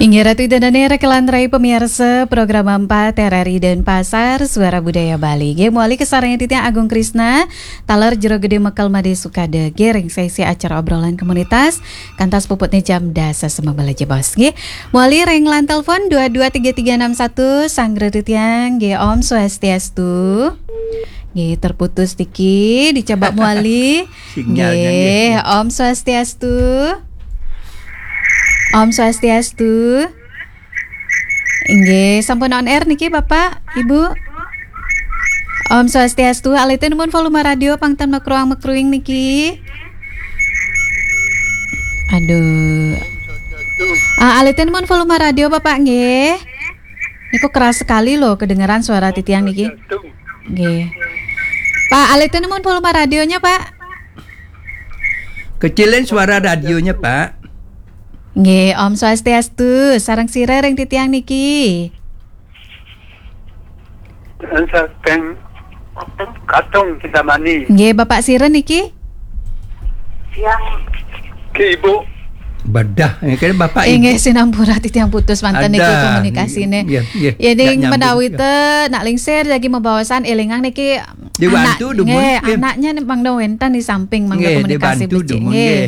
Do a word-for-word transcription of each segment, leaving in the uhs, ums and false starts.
Inggih Ratu Ida Dane, rekan rai pemirsa program empat R R I Denpasar, Suara Budaya Bali. Nggih, mawali kasarengin titiang Agung Krisna, taler Jero Gede Mekel Made Sukade, nggih, ring sesi acara obrolan komunitas, kantos puputne jam dasa semebel aja, Bos. Nggih, mawali ring line telepon dua dua tiga tiga enam satu, sanggra titiang, nggih, Om Swastiastu. Nggih, terputus niki, dicoba mawali. Sinyalnya, nggih, nggih. Om Swastiastu. Om Swastiastu. Nggih, sampun on air niki, Bapak, Ibu. Om Swastiastu, alit nuwun volume radio pang ten makruang-makruing niki. Aduh. Ah, alit nuwun volume radio, Bapak, nggih. Niku keras sekali loh kedengeran suara titiang niki. Nggih. Pak, alit nuwun volume radionya, Pak. Kecilin suara radionya, Pak. Nggih, Om Swastiastu. Sareng sira ring titiang niki. Saking Katung Kintamani. Nggih, Bapak sira niki? Yang Ki Ibu. Bedah, ya, kan Bapak Ibu. Inggih, sinampura titiang putus manten niku komunikasine. Nggih, nggih. Ya, ning menawi te nak lingsir lagi mabaosan elingang niki. Dibantu anak, dumun, nggih, nggih. Anaknya nih mangda wenten di samping, mangda komunikasi becik, nggih.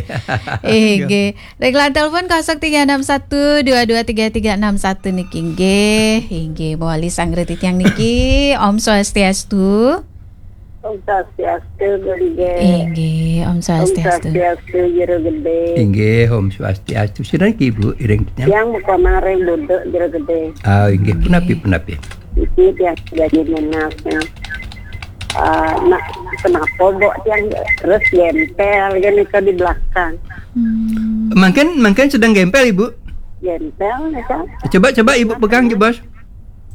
Nggih. Ring line telepon kosong tiga enam satu dua dua tiga tiga enam satu niki nggih. Inggih, mawali sanggra titiang niki. Om Swastiastu. Om Swastiastu, Gunggih. Inggih, Om Swastiastu. Om Swastiastu, Jero Gede. Inggih, Om Swastiastu. Sinten niki, Bu, iring titiang? Tiang muka maring Buduk, Jero Gede. Ah, inggih, punapi, punapi? Iki tiang jadi nunas, ya. Ah, nak, kenapa, Bu, tiang terus gempel, gini, ke di belakang? Hmm. Mangkin, mangkin sedang gempel, Ibu? Gempel, ya, Kak. Coba, coba Ibu pegang, Bos.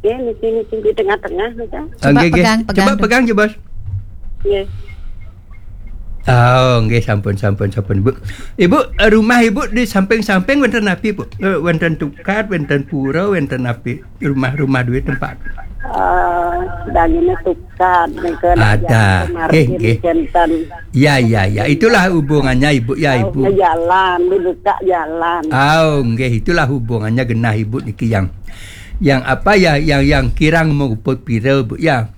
Ya, di sini, sini, di tengah-tengah, ya, Kak. Ah, nggih, nggih. Pegang, pegang. Coba pegang, Bos. Iya. Oh, nggih, sampun, sampun, sampun, Bu. Ibu, eh, rumah Ibu di samping-samping wenten napi, Bu? Eh, wenten tukad, wenten pura, wenten napi? Rumah-rumah duwe tempat. Eh, dagingnya tukad, nika. Ada. Nggih, nggih. Janten. Ya, ya, ya. Itulah hubungannya, Ibu, ya, Ibu. Jalan, dibuka jalan. Oh, nggih, itulah hubungannya genah Ibu niki yang, yang apa ya, yang, yang kirang menguput pira, Bu, ya.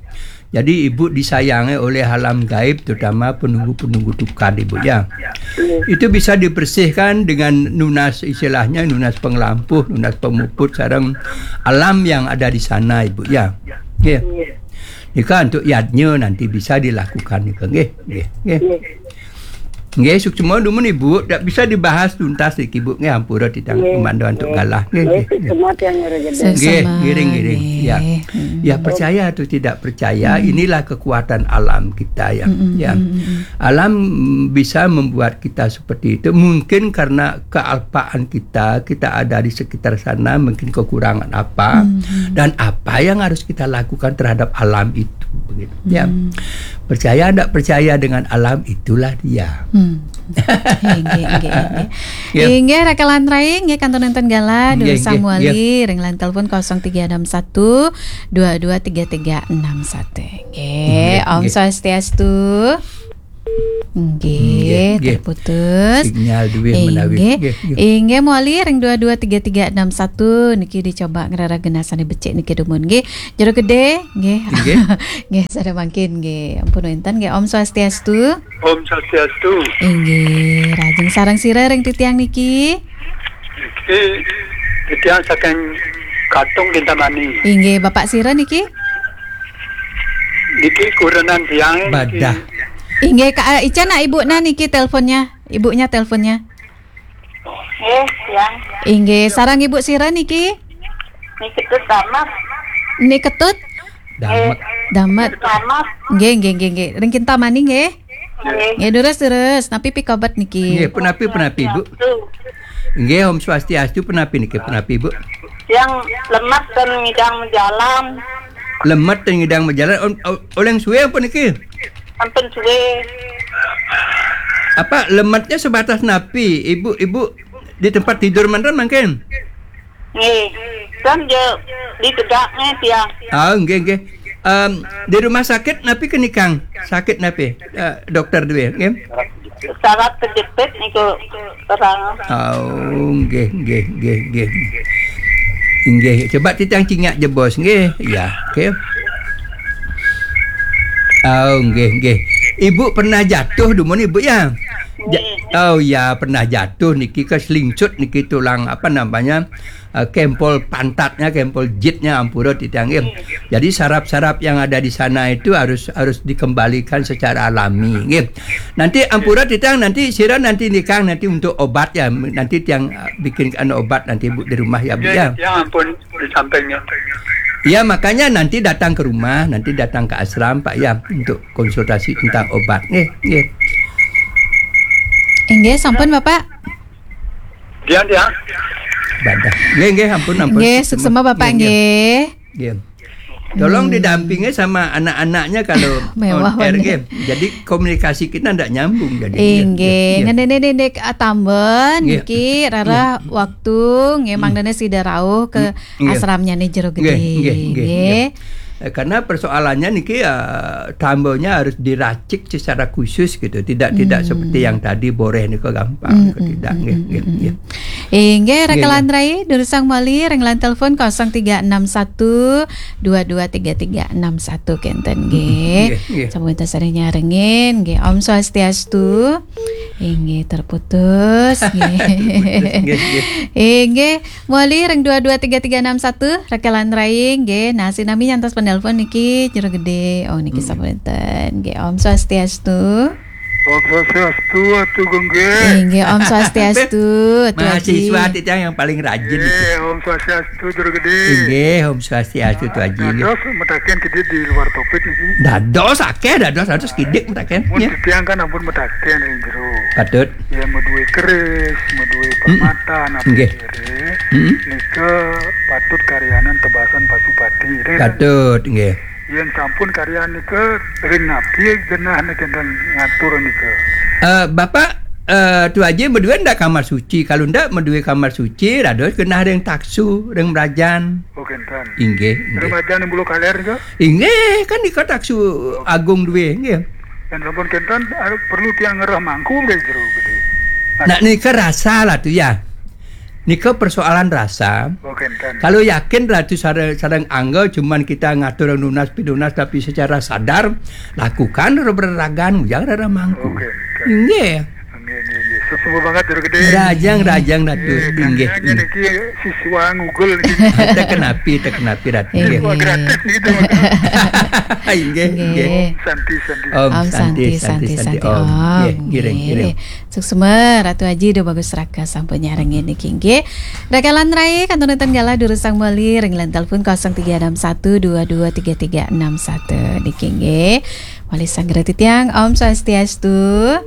Jadi, Ibu disayangi oleh alam gaib, terutama penunggu-penunggu tukad, Ibu, ya. Iya. Itu bisa dibersihkan dengan nunas, istilahnya nunas pengelampuh, nunas pemuput, sareng alam yang ada di sana, Ibu, ya. Iya. Iya. Nika untuk yadnya nanti bisa dilakukan nika, nggih, nggih, nggih. Iya. Nggih, suksma dumun, Ibu, dak bisa dibahas tuntas niki, Bu, nggih, ampura titiang, nggih, komandan untuk, nggih, galah, nggih, nggih, nggih, nggih. Suksma tiang Jero Gede. Nggih, suksma, ngiring, ngiring. Nggih. Ya. Hmm. Ya, percaya atau tidak percaya, hmm, inilah kekuatan alam kita, ya. Hmm, hmm, ya. Hmm, hmm, hmm. Alam bisa membuat kita seperti itu, mungkin karena kealpaan kita, kita ada di sekitar sana, mungkin kekurangan apa, hmm, hmm, dan apa yang harus kita lakukan terhadap alam itu, begitu. Ya. Hmm. Percaya ndak percaya dengan alam, itulah dia. Hmm. Inggih, inggih, inggih. Ya. Inggih, Raka lan Rai, nggih, kantun nenten galah, nggih, durusang, nggih, mawali, nggih, ring line telepon kosong tiga enam satu dua dua tiga tiga enam satu. Nggih, nggih, Om, nggih, Swastiastu. Nggih, nggih, nggih. Terputus. Sinyal duwe menawi. Inggih. Nggih, nggih. Inggih, mawali ring dua dua tiga tiga enam satu niki dicoba ngrereh genah sane becik niki dumun nggih. Jero Gede nggih. Nggih. Nggih, sada mangkin nggih. Ampun wenten nggih. Om Swastiastu. Om Swastiastu. Inggih, rajin sareng sira ring titiang niki. Niki titiang saking Katung Kintamani. Inggih, Bapak sira niki? Niki kurenan tiang niki. Badah. Inggih, Kak, eh, Ica nak Ibu nah niki teleponnya. Ibunya teleponnya. Nggih, tiang. Inggih, sareng Ibu sira niki? Niki Ketut Damet. Ni Ketut? Damet. Damet. Damet. Nggih, nggih, nggih, nggih. Ring Kintamani nggih? Nggih. Nggih, durus, durus. Napi pikobet niki? Nggih, punapi, punapi, Bu? Nggih, Om Swastiastu, punapi niki, punapi, Bu? Yang lemet dan ngidang majalan. Lemet dan ngidang majalan, om, o-, oleng suwe apa niki? Sampun suwe. Apa lemetnya sebatas napi, Ibu, Ibu di tempat tidur manten mangkin? Nggih. Kan je ditegakne tiang. Ah, nggih, nggih. Em, di rumah sakit napi kenikang? Sakit napi? Eh, dokter duwe, nggih. Saraf kejepit niku terang. Oh, nggih, nggih, nggih, nggih. Inggih, coba titiang cingak jebos nggih. Ya, okey. Oh, nggih, nggih. Ibu pernah jatuh dumun ibu ya? Ja- oh ya, pernah jatuh niki keselingsut niki tulang apa namanya? Eh, kempol pantatnya, kempol jitnya ampura titiang nggih. Jadi saraf-saraf yang ada di sana itu harus harus dikembalikan secara alami nggih. Nanti ampura titiang nanti sira nanti nikang nanti untuk obat ya. Nanti tiang eh, bikinkan obat nanti Bu di rumah ya Bu ya. Ya ampun, di sampingnya. Ya, makanya nanti datang ke rumah, nanti datang ke asram Pak ya untuk konsultasi tentang obat nggih, nggih. Inggih, sampun Bapak. Dia dia. Badah. Nggih, nggih, ampun, ampun. Nggih, suksema Bapak nggih. Nggih. Tolong didampingi sama anak-anaknya kalau mewah on air nggih. Jadi komunikasi kita ndak nyambung jadi. Inggih, nggih. Nggih. Ngenéné niki, ah, tambén nggih. Niki rarah waktu nggih mangdané sida rauh ke nggih. Asramnya nih Jero Gedé. Nggih, nggih, nggih, nggih. Eh, karena persoalannya niki eh, tambénnya harus diracik secara khusus gitu. Tidak tidak seperti yang tadi boréh nika gampang. Hmm, tidak nggih, nggih, nggih. Inggih, nggih, Raka Lantrai, durusang malih ring line telepon kosong tiga enam satu dua dua tiga tiga enam satu kénten nggih. Nggih, nggih. Sampun wénten sareng nyarengin nggih. Om Swastiastu. Inggih, terputus nggih. Terputus, nggih, nggih. Inggih, malih ring dua dua tiga tiga enam satu, Raka Lantrai nggih. Nah, sinami nyantos penelpon niki Jero Gedé. Oh, niki sampun wénten nggih. Om Swastiastu. Om Swastiastu, Atu Genggé. Inggih, Om Swastiastu, Tu Haji. Mahasiswa titiang yang paling rajin niki. Inggih, Om Swastiastu, Jero Gedé. Inggih, Om Swastiastu, Tu Haji. Dados mutaken kidit di luar topik niki. Dados akeh, dados, dados kidik mutaken. Mun titiang kan ampun mutaken ring jero. Patut. Ya, madué keris, madué permata, napa nggih. Kira, nika patut karyanan tebasan pasupati. Patut, nggih. Yén sampun karyan nika ring napi genahné kénten ngatur nika? Eh, Bapak, eh, Tu Haji madué ndak kamar suci? Kalau ndak madué kamar suci, dados genah ring taksu, ring mrajan. Oh, kénten. Inggih, inggih. Ring mrajan ring Bulu Kaler nika? Inggih, kan nika taksu agung dué, nggih. Yén sampun kénten, anu, perlu tiang ngerah mangku ring jero gedé. Nah, nika rasa lah tu ya. Nika persoalan rasa. Oh, kénten. Kalau yakin Ratu sare-, sareng angga cuman kita ngatur nunas pinunas tapi secara sadar, lakukan rereragan ujang reremangku. Oh, kénten. Nggih. Nggih, nggih, nggih. Suksma banget, Jero Gedé. Rajang, rajang, Ratu. Nggih, nggih, nggih. Niki siswa ngugul niki. Teken api, teken api, Ratu. Nggih. Wah, gratis gitu. Nggih, nggih. Nggih. Santi, santi. Om Santi, Santi, Santi, Om. Nggih, ngiring, ngiring. Suksma, Ratu Aji, Ida Bagus Raka sampun nyarengin niki nggih. Raka Lantrai, kantun wénten galah durusang malih ring line telepon kosong tiga enam satu dua dua tiga tiga enam satu niki nggih. Malih sanggra titiang, Om Swastiastu.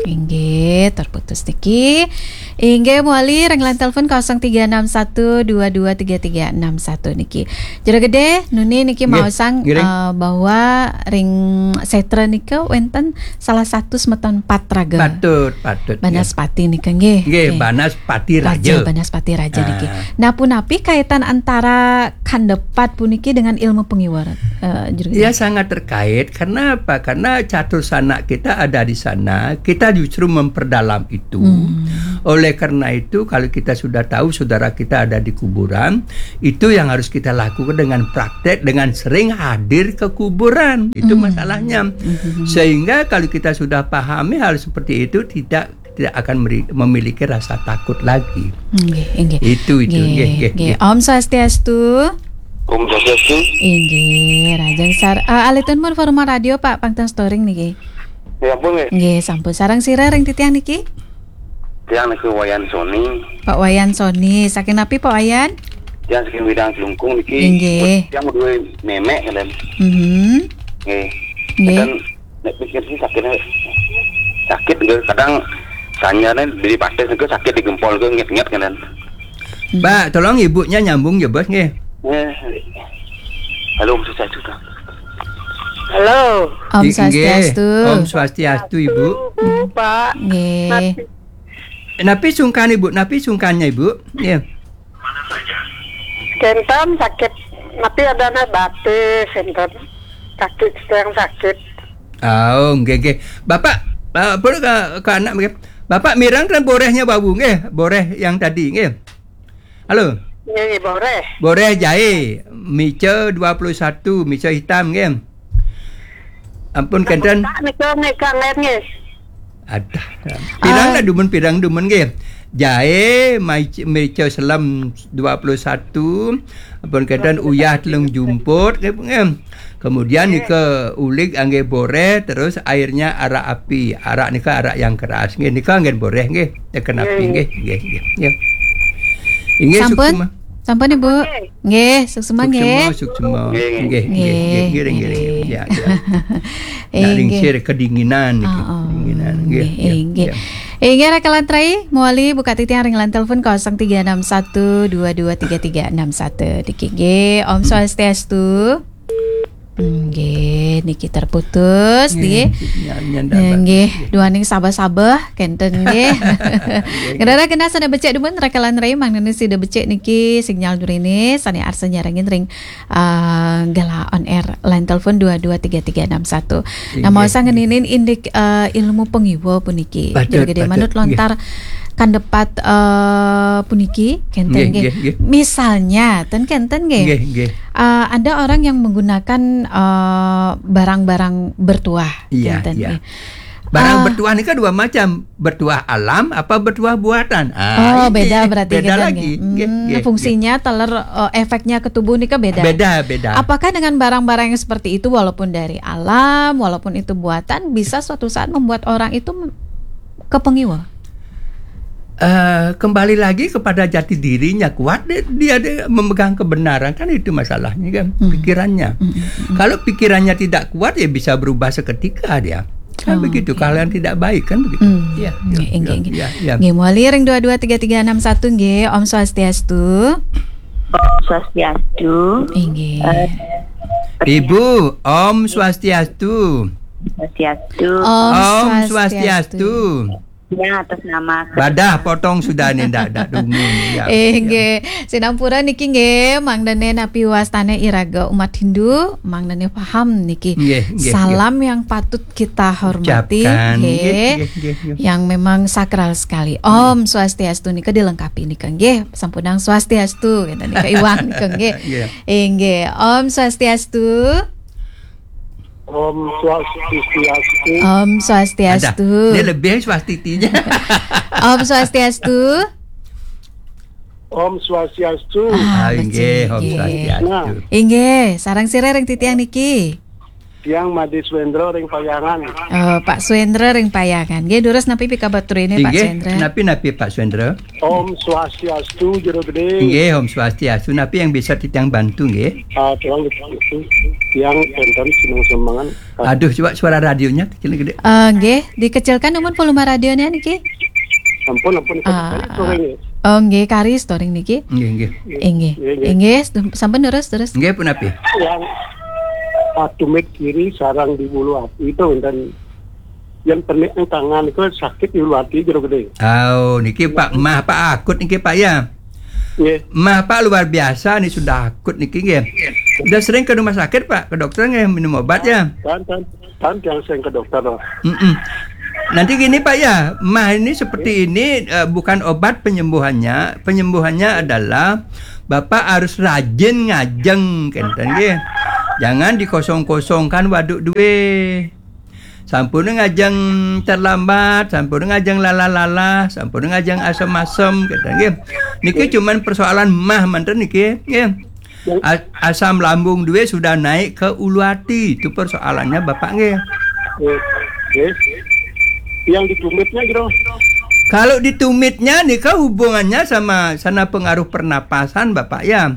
Inggih, terputus niki. Inggih, malih ring line telepon kosong tiga enam satu dua dua tiga tiga enam satu niki. Jero Gedé, nuni niki maosang, ngiring. Eh, bahwa ring sétra nika wénten salah satu semeton patraga. Patut, patut, nggih. Banaspati nika nggih. Nggih, nggih. Banaspati Raja. Raja, Banaspati Raja niki. Ah. Nah, punapi kaitan antara kanda pat puniki dengan ilmu pangiwa, eh, Jero Gedé? Ya, sangat terkait. Karena apa? Karena catur sanak kita ada di sana. Kita justru memperdalam itu. Hmm. Oleh karena itu, kalau kita sudah tahu saudara kita ada di kuburan, itu yang harus kita lakukan dengan praktek, dengan sering hadir ke kuburan. Itu masalahnya. Sehingga kalau kita sudah pahami hal seperti itu, tidak tidak akan meri-, memiliki rasa takut lagi. Nggih, nggih. Itu, itu. Nggih, nggih, nggih, nggih. Om Swastiastu. Om Swastiastu. Inggih, rajang sar-, eh, alitun mun volume radio, Pak, pang ten storing niki. Ya ampun, nggih. Nggih, sampun. Sareng sira ring titiang niki? Tiang niku Wayan Sony. Pak Wayan Sony, saking napi Pak Wayan? Tiang saking Widang Klungkung niki. Inggih. Tiang duwe memek, ngeten. Mhm. Nggih. Nggih. Ngeten, nek pikir sih sakitnya, sakit nggih, kadang sanyane diri pates niku sakit di gempol niku nget-nget, ngeten. Hmm. Pak, tolong ibunya nyambung ya, Bos, nggih. Nggih. Halo, Om Swastiastu, Kang. Halo. Om Swastiastu. Nggih. Om Swastiastu, Ibu. Bu, Pak. Nggih. Napi? Napi sungkan, Ibu? Napi sungkannya, Ibu? Nggih. Kenten sakit, napi adana batis, kenten. Kaki yang sakit. Oh, nggih, nggih. Bapak, eh, boleh ke, ke anak, nggih. Bapak mireng kan borehnya wau, nggih. Boreh yang tadi, nggih. Halo. Nggih, nggih, boreh. Boreh jahe, mica dua puluh satu, mica hitam nggih. Ampun kenten. Tak nika, nika nggih. Adah. Pirang Ah. lah dumun, pirang dumun nggih. Jahe, mai-, mica selem dua puluh satu, ampun kenten, uyah telung jumput nggih, nggih. Kemudian nika ulig anggih boreh, terus airnya arak api. Arak nika arak yang keras nggih. Nika anggen boreh nggih. Teken api nggih, nggih, nggih. Nggih. Inggih, sampun? Suksema. Sampun, Ibu. Nggih, suksema nggih. Suksema, suksema. Nggih, nggih, nggih, nggih, nggih, nggih. Ya, ya. Nak lingsir kedinginan niki. Oh, oh. Kedinginan. Nggih, nggih, nggih, nggih. Inggih, Raka lan Rai, mawali buka titiang ring line telepon kosong tiga enam satu dua dua tiga tiga enam satu. Niki nggih, Om Swastiastu. Nggih, niki terputus, nggih. Nggih, nggih, nggih. Duaning sabeh-sabeh, kenten, nggih. Nggih. Nggih. Genah sida becik dumun, Raka lan Rai, mangdane sida becik niki sinyal durine, sane arsa nyarengin ring, ah, Gala on Air, line telepon dua dua tiga tiga enam satu. Nah, nggih, maosang ngeninin indik, ah, ilmu pangiwa puniki. Betul, Jero Gede betul, Manut nggih. Lontar kandepat, eh, puniki, kenten nggih, nggih, nggih, nggih. Misalnya, ten kenten nggih. Nggih, nggih. Eh, ada orang yang menggunakan, eh, barang-barang bertuah, iya, kenten, iya, nggih. Barang, eh, bertuah ni kan dua macam, bertuah alam apa bertuah buatan. Ah, oh, ini beda berarti, beda kenten, lagi. Nggih. Hmm, nggih, nggih, fungsinya nggih. Taler, eh, efeknya ke tubuh ni kan beda. Beda, beda. Apakah dengan barang-barang yang seperti itu, walaupun dari alam, walaupun itu buatan, bisa suatu saat membuat orang itu kepengiwa? Eh, kembali lagi kepada jati dirinya kuat, dia, dia, dia memegang kebenaran, kan itu masalahnya kan, hmm, pikirannya. Hmm, hmm, hmm. Kalau pikirannya tidak kuat, ya bisa berubah seketika dia. Kan begitu, kalau yang tidak baik kan begitu. Hmm. Ya, ya, nggih, ya, nggih, nggih, ya, ya. Nggih, mawali ring dua dua tiga tiga enam satu nggih, Om Swastiastu. Om Swastiastu. Inggih. Eh, Ibu, Om Swastiastu. Swastiastu. Om Swastiastu. Om Swastiastu. Yang atas nama. Badah potong sudah ni, ndak, ndak dungu ni, ya. Eh, ya, nggih. Sinampura niki nggih, mangdane napi wastane iraga umat Hindu, mangdane paham niki. Nggih, nggih, nggih. Salam yang patut kita hormati, ucapkan, nggih, nggih, nggih, nggih, nggih. Yang memang sakral sekali. Nggih. Om Swastiastu nika dilengkapi nika nggih, sampunang Swastiastu, ngeten nika iwang nika nggih. Nggih. Inggih, Om Swastiastu. Om Swastiastu. Om Swastiastu. Ada. Ini lebih swastitinya. Om Swastiastu. Om Swastiastu. Ah, ah, inggih, betul, Om nggih. Swastiastu. Nah. Inggih, sareng sira ring titiang niki. Tiang Made Swendra ring Payangan. Oh, Pak Swendra ring Payangan. Nggih, durus napi pikabeh turine, Pak Swendra? Inggih, napi-napi, Pak Swendra? Om Swastiastu, Jero Gede. Nggih, Om Swastiastu. Napi yang bisa titiang bantu, nggih? Ah, tolong dibantu. Tiang kenten seneng semengan. Ah. Aduh, coba suara radionya kecil gede. Eh, nggih, dikecilkan dumun volume radionya niki. Ampun, ampun, ah, kari storing ya. Oh, nggih, kari storing niki. Nggih, nggih. Inggih. Nggih, nggih. Inggih, sampun terus, terus. Nggih, punapi? Yang patumit kiri sareng di ulu ati itu, dan yang penik tangan itu sakit di ulu ati, Jero Gede. Oh, niki Pak, mah Pak akut niki, Pak, ya? Nggih. Mah Pak luar biasa ni, sudah akut niki, nggih. Sudah sering ke rumah sakit, Pak, ke dokter nggih, minum obat ya? Kan, kan, kan yang sering ke dokter loh. Mm-mm. Nanti gini, Pak, ya, mah ini seperti ini, eh, bukan obat penyembuhannya. Penyembuhannya adalah Bapak harus rajin ngajeng, kenten nggih. Jangan dikosong-kosongkan waduk duwe. Sampun ngajeng terlambat, sampun ngajeng lalah-lalah, sampun ngajeng asem-asem, kenten nggih. Niki cuman persoalan mah manten niki, nggih. As-, asam lambung duwe sudah naik ke ulu ati, itu persoalannya Bapak nggih. Nggih. Yang ditumitnya, Jero? Kalau ditumitnya nika hubungannya sama sana pengaruh pernapasan, Bapak, ya.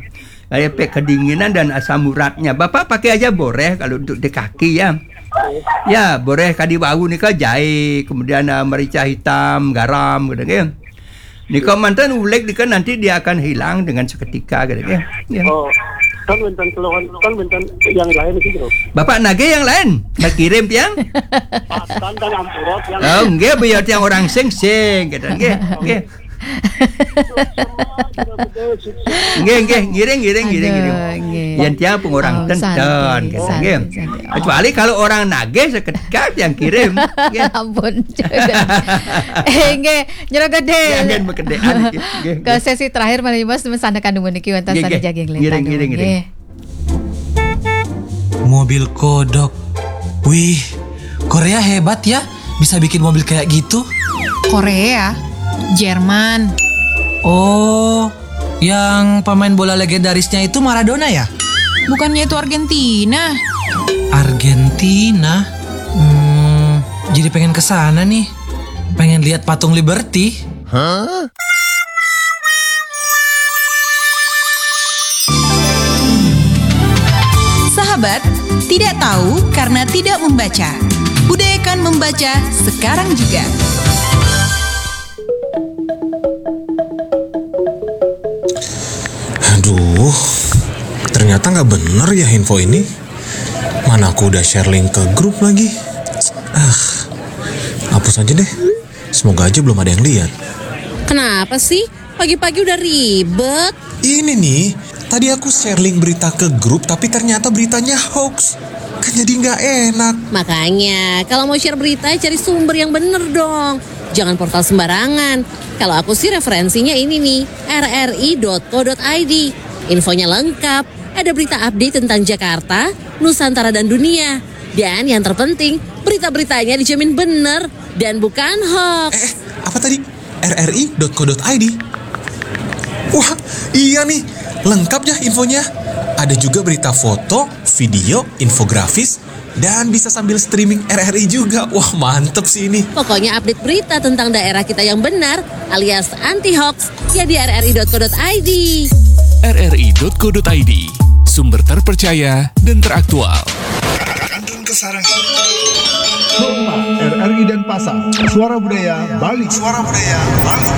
Kayak pe-, kedinginan dan asam uratnya. Bapak pakai aja boreh kalau untuk di kaki ya. Ya, boreh kadi wau nika jahe, kemudian, eh, merica hitam, garam gitu nggih. Nika manten uleg nika nanti dia akan hilang dengan seketika gitu nggih. Ya. Oh, kan wenten keluhan, kan wenten yang lain gitu loh. Bapak nagih yang lain, nggih kirim tiang. Kan, kan ampura tiang. Oh, nggih, biar tiang orang sing-sing gitu nggih. Nggih. Nggih, nggih, ngiring, ngiring, ngiring, ngiring. Aduh, nggih. Yen tiang pun orang Oh, tenten, santai, gitu, santai, nggih. Santai. Oh. Kecuali kalau orang nagih seketika yang kirim, nggih. Ampun, jangan. Eh, nggih, Nyero Gede. Jangan berkedek, nggih, nggih. Ke sesi terakhir, malih Mas, temen sana kandungan niki, wonten Nggih, sana nggih. Jaging Ngiring, Lintang. Ngiring, ngiring. Nggih. Mobil kodok. Wih, Korea hebat ya, bisa bikin mobil kayak gitu. Korea, Jerman. Oh, yang pemain bola legendarisnya itu Maradona ya? Bukannya itu Argentina? Argentina? Hmm, jadi pengen ke sana nih. Pengen lihat patung Liberty. Sahabat, tidak tahu karena tidak membaca. Budayakan membaca sekarang juga. Aduh, ternyata nggak bener ya info ini. Mana aku udah share link ke grup lagi. Ah, hapus aja deh. Semoga aja belum ada yang lihat. Kenapa sih? Pagi-pagi udah ribet. Ini nih, tadi aku share link berita ke grup, tapi ternyata beritanya hoax. Kan jadi nggak enak. Makanya, kalau mau share berita, cari sumber yang bener dong. Jangan portal sembarangan. Kalau aku sih referensinya ini nih, R R I dot co dot I D. Infonya lengkap, ada berita update tentang Jakarta, Nusantara dan dunia. Dan yang terpenting, berita-beritanya dijamin bener dan bukan hoax. Eh, eh, apa tadi? R R I dot co dot I D. Wah, iya nih, lengkap ya infonya. Ada juga berita foto, video, infografis, dan bisa sambil streaming R R I juga. Wah, mantep sih ini. Pokoknya update berita tentang daerah kita yang benar alias anti hoax ya di R R I dot co dot I D. R R I dot co dot I D, sumber terpercaya dan teraktual. Kantun Kesarang. Sukma, R R I Denpasar, Suara Budaya Bali. Suara Budaya Bali.